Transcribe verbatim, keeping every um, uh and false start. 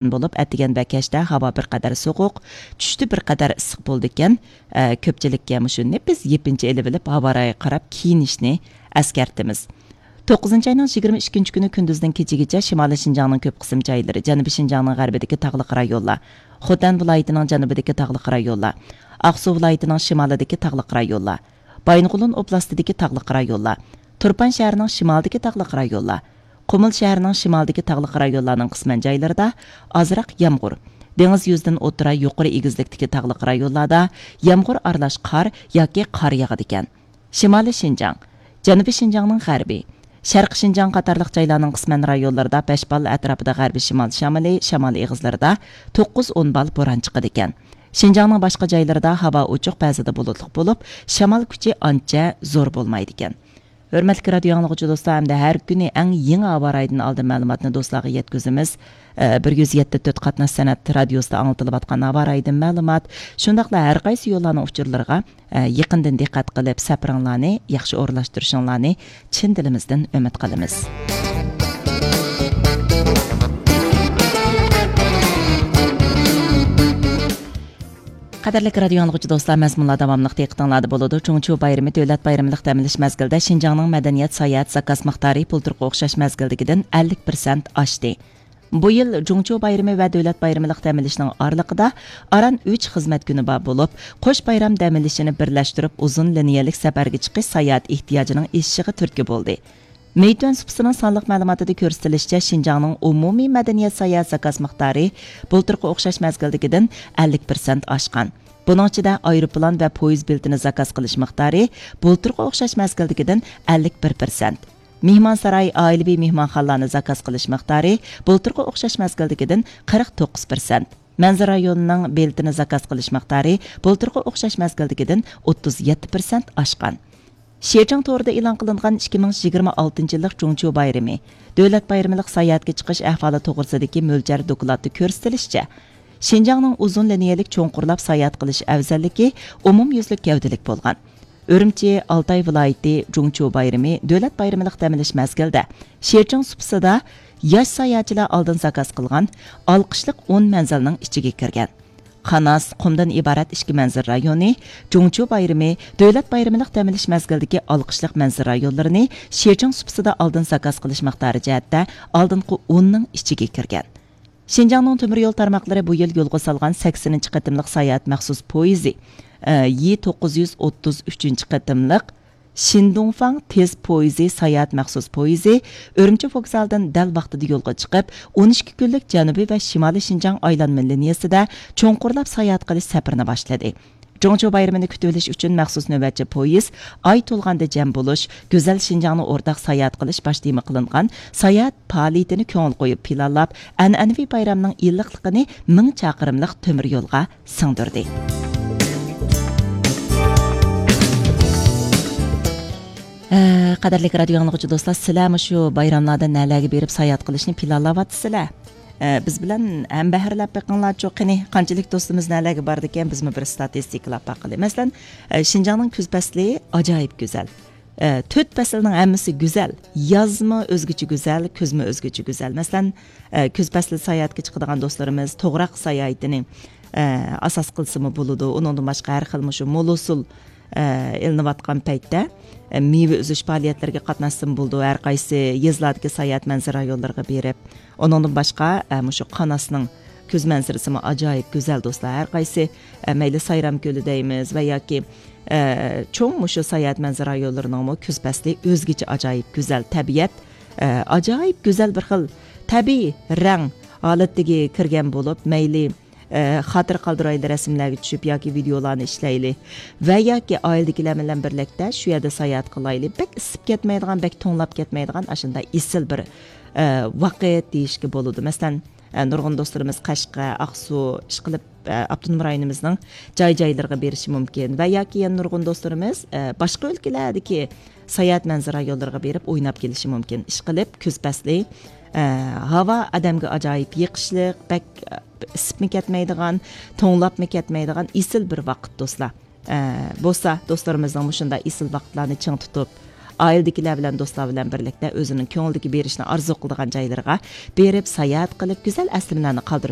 بولۇپ، ئەتىگەن ۋە كەچتە ھاۋا بىر قەدەر سوغۇق، چۈشتە بىر قەدەر ئىسسىق بولىدىكەن. ئە، كۆپچىلىككە مۇشۇ نېپىز يېپىنچا ئېلىۋېلىپ، ھاۋا رايىغا قاراپ كىيىنىشنى ئەسكەرتىمىز. توققۇزىنچى ئاينىڭ يىگىرمە ئىككىنچى كۈنى كۈندۈزدىن كېچىگىچە شىمالىي شىنجاڭنىڭ كۆپ قىسىم جايلىرى، جەنۇبىي شىنجاڭنىڭ غەربىدىكى تاغلىق رايونلار، خوتەن ۋىلايىتىنىڭ جەنۇبىدىكى تاغلىق رايونلار، ئاقسۇ ۋىلايىتىنىڭ شىمالىدىكى تاغلىق رايونلار، بايىنغولىن ئوبلاستىدىكى تاغلىق رايونلار، تۇرپان شەھىرىنىڭ شىمالىدىكى تاغلىق رايونلار، قۇمۇل شەھىرىنىڭ شىمالىدىكى تاغلىق رايونلارنىڭ قىسمەن جايلىرىدا ئازراق يامغۇر، دېڭىز يۈزىدىن ئوتتۇرا يۇقىرى ئېگىزلىكتىكى تاغلىق رايونلاردا يامغۇر ئارىلاش قار ياكى قار ياغىدىكەن. شىمالىي شىنجاڭ، جەنۇبىي شىنجاڭنىڭ غەربى، شەرقىي شىنجاڭ قاتارلىق جايلارنىڭ قىسمەن رايونلىرىدا بەش بال، ئەتراپىدا غەربىي شىمال شامىلى، شامال ئېغىزلىرىدا توققۇز ئون بال بوران چىقىدىكەن. شىنجاڭنىڭ باشقا جايلىرىدا ھاۋا ئوچۇق، بەزىدە بۇلۇتلۇق بولۇپ، شامال كۈچى ئانچە زور بولمايدىكەن. ھۆرمەتلىك رادىيو ئاڭلىغۇچى دوستلار، ئەمدى ھەر كۈنى ئەڭ يېڭى ھاۋا رايىدىن ئالدىن مەلۇماتنى دوستلارغا يەتكۈزىمىز. ئە، بىر يۈز يەتتە تۆت قاتناش سەنئەت رادىيوسىدا ئاڭلىتىلىۋاتقان ھاۋا رايىدىن مەلۇمات، شۇنداقلا ھەر قايسى يوللارنىڭ ئۇچۇرلىرىغا، ئە، يېقىندىن دىققەت قىلىپ سەپىرىڭلارنى ياخشى ئورۇنلاشتۇرۇشۇڭلارنى چىن دىلىمىزدىن ئۈمىد قىلىمىز. قەدىرلىك رادىيو ئاڭلىغۇچى دوستلار، مەزمۇنلار داۋاملىق دىققىتىڭلاردا بولىدۇ. جۇڭچيۇ بايرىمى دۆلەت بايرىملىق دەم ئېلىش مەزگىلىدە شىنجاڭنىڭ مەدەنىيەت ساياھەت زاكاز مىقدارى بۇلتۇرقى ئوخشاش مەزگىلدىكىدىن ئەللىك پىرسەنت ئاشتى. بۇ يىل جۇڭچيۇ بايرىمى ۋە دۆلەت بايرىملىق دەم ئېلىشنىڭ ئارىلىقىدا ئاران ئۈچ خىزمەت كۈنى بار بولۇپ، قوش بايرام دەم ئېلىشىنى بىرلەشتۈرۈپ، ئۇزۇن لىنىيەلىك سەپەرگە چىقىش ساياھەت ئېھتىياجىنىڭ ئېشىشىغا تۈرتكە بولدى. مېيتۈەن سۇپىسىنىڭ سانلىق مەلۇماتىدا كۆرسىتىلىشىچە، شىنجاڭنىڭ ئومۇمىي مەدەنىيەت ساياھەت زاكاز مىقدارى بۇلتۇرقى ئوخشاش مەزگىلدىكىدىن ئەللىك پىرسەنت ئاشقان. بۇنىڭ ئىچىدە ئايروپىلان ۋە پويىز بېلىتىنى زاكاز قىلىش مىقدارى بۇلتۇرقى ئوخشاش مەزگىلدىكىدىن ئەللىك بىر پىرسەنت. مېھمانساراي، ئائىلىۋى مېھمانخانىلارنى زاكاز قىلىش مىقدارى بۇلتۇرقى ئوخشاش مەزگىلدىكىدىن قىرىق توققۇز پىرسەنت. مەنزىرە رايونىنىڭ بېلىتىنى زاكاز قىلىش مىقدارى بۇلتۇرقى ئوخشاش مەزگىلدىكىدىن ئوتتۇز يەتتە پىرسەنت ئاشقان. شىجاڭ تورىدا ئېلان قىلىنغان ئىككى مىڭ يىگىرمە ئالتىنچى يىللىق جۇڭچيۇ بايرىمى، دۆلەت بايرىملىق ساياھەتكە چىقىش ئەھۋالى توغرىسىدىكى مۆلچەر دوكلاتتا كۆرسىتىلىشىچە، شىنجاڭنىڭ ئۇزۇن لىنىيەلىك چوڭقۇرلاپ ساياھەت قىلىش ئەۋزەللىكى ئومۇميۈزلۈك گەۋدىلىك بولغان. ئۈرۈمچى، ئالتاي ۋىلايىتى جۇڭچيۇ بايرىمى دۆلەت بايرىملىق دەم ئېلىش مەزگىلىدە شىجاڭ سۇپىسىدا ياش ساياھەتچىلەر ئالدىن زاكاز قىلغان ئالقىشلىق ئون مەنزىلنىڭ ئىچىگە كىرگەن. قاناس، قۇمدىن ئىبارەت ئىككى مەنزىرە رايونى، جۇڭچيۇ بايرىمى، دۆلەت بايرىملىق دەم ئېلىش مەزگىلىدىكى ئالقىشلىق مەنزىرە رايونلىرىنى شىجاڭ سۇپىسىدا ئالدىن زاكاز قىلىش مىقدارى جەھەتتە ئالدىنقى ئوننىڭ ئىچىگە كىرگەن. شىنجاڭنىڭ تۆمۈر يول تارماقلىرى بۇ يىل يولغا سالغان سەكسىنىنچى قېتىملىق ساياھەت مەخسۇس پويىزى، ئى، توققۇز يۈز ئوتتۇز ئۈچىنچى قېتىملىق شىندۇڭفاڭ تېز پويىزى ساياھەت مەخسۇس پويىزى ئۈرۈمچى ۋوگزالىدىن دەل ۋاقتىدا يولغا چىقىپ، ئون ئىككى كۈنلۈك جەنۇبىي ۋە شىمالىي شىنجاڭ ئايلانما لىنىيەسىدە چوڭقۇرلاپ ساياھەت قىلىش سەپىرىنى باشلىدى. جۇڭچيۇ بايرىمىنى كۈتۈۋېلىش ئۈچۈن مەخسۇس نۆۋەتچى پويىز ئاي تولغاندا جەم بولۇش، گۈزەل شىنجاڭنى ئورتاق ساياھەت قىلىش باش تېما قىلىنغان ساياھەت پائالىيىتىنى كۆڭۈل قويۇپ پىلانلاپ، ئەنئەنىۋى بايرامنىڭ ئىللىقلىقىنى مىڭ چاقىرىملىق تۆمۈر يولغا سىڭدۈردى. ھە، قەدىرلىك رادىيو ئاڭلىغۇچى دوستلار، سىلەر مۇشۇ بايراملاردا نەلەرگە بېرىپ ساياھەت قىلىشنى پىلانلاۋاتىسىلەر؟ ئە، بىز بىلەن ھەمبەھىرلەپ بېقىڭلارچۇ، قېنى، قانچىلىك دوستىمىز نەلەرگە بارىدىكەن، بىزمۇ بىر ستاتىستىكىلاپ باقىلى. مەسىلەن، ئە، شىنجاڭنىڭ كۈز پەسلى ئاجايىپ گۈزەل. ئە، تۆت پەسىلنىڭ ھەممىسى گۈزەل. يازمۇ ئۆزگىچە گۈزەل، كۈزمۇ ئۆزگىچە گۈزەل. مەسىلەن، ئە، كۈز پەسلى ساياھەتكە چىقىدىغان دوستلىرىمىز توغراق ساياھىتىنى، ئە، ئاساس قىلسىمۇ بولىدۇ. ئۇنىڭدىن باشقا ھەر خىل مۇشۇ مول ھوسۇل، ئە، ئېلىنىۋاتقان پەيتتە، ئە، مېۋە ئۈزۈش پائالىيەتلىرىگە قاتناشسىمۇ بولىدۇ. ھەر قايسى يېزىلاردىكى ساياھەت مەنزىرە رايونلىرىغا بېرىپ، ئۇنىڭدىن باشقا، ئە، مۇشۇ قاناسنىڭ كۈز مەنزىرىسىمۇ ئاجايىپ گۈزەل، دوستلار. ھەر قايسى، ئە، مەيلى سايرام كۆلى دەيمىز ۋە ياكى، ئە، چوڭ مۇشۇ ساياھەت مەنزىرە رايونلىرىنىڭمۇ كۈز پەسلى ئۆزگىچە ئاجايىپ گۈزەل تەبىئەت، ئە، ئاجايىپ گۈزەل بىر خىل تەبىئىي رەڭ ھالىتىگە كىرگەن بولۇپ، مەيلى، ئە، خاتىرە قالدۇرايلى رەسىملەرگە چۈشۈپ ياكى ۋىدېئولارنى ئىشلەيلى ۋە ياكى ئائىلىدىكىلەر بىلەن بىرلىكتە شۇ يەردە ساياھەت قىلايلى. بەك ئىسسىپ كەتمەيدىغان، بەك توڭلاپ كەتمەيدىغان ئاشۇنداق ئېسىل بىر، ئە، ۋاقىت دېيىشكە بولىدۇ. مەسىلەن، ئە، نۇرغۇن دوستلىرىمىز قەشقەر، ئاقسۇ، ئىشقىلىپ، ئە، ئاپتونوم رايونىمىزنىڭ جاي-جايلىرىغا بېرىشى مۇمكىن ۋە ياكى يەنە نۇرغۇن دوستلىرىمىز، ئە، باشقا ئۆلكىلەردىكى ساياھەت مەنزىرە رايونلىرىغا بېرىپ ئويناپ كېلىشى مۇمكىن. ئىشقىلىپ، كۈز پەسلى، ئە، ھاۋا ئادەمگە ئاجايىپ يېقىشلىق، بەك، ئە، ئىسسىپمۇ كەتمەيدىغان، توڭلاپمۇ كەتمەيدىغان ئېسىل بىر ۋاقىت، دوستلار. ئە، بولسا دوستلىرىمىزنىڭ مۇشۇنداق ئېسىل ۋاقىتلارنى چىڭ تۇتۇپ، ئائىلىدىكىلەر بىلەن، دوستلار بىلەن بىرلىكتە ئۆزىنىڭ كۆڭلىدىكى بېرىشنى ئارزۇ قىلىدىغان جايلىرىغا بېرىپ، ساياھەت قىلىپ، گۈزەل ئەسلىمىلەرنى قالدۇرۇپ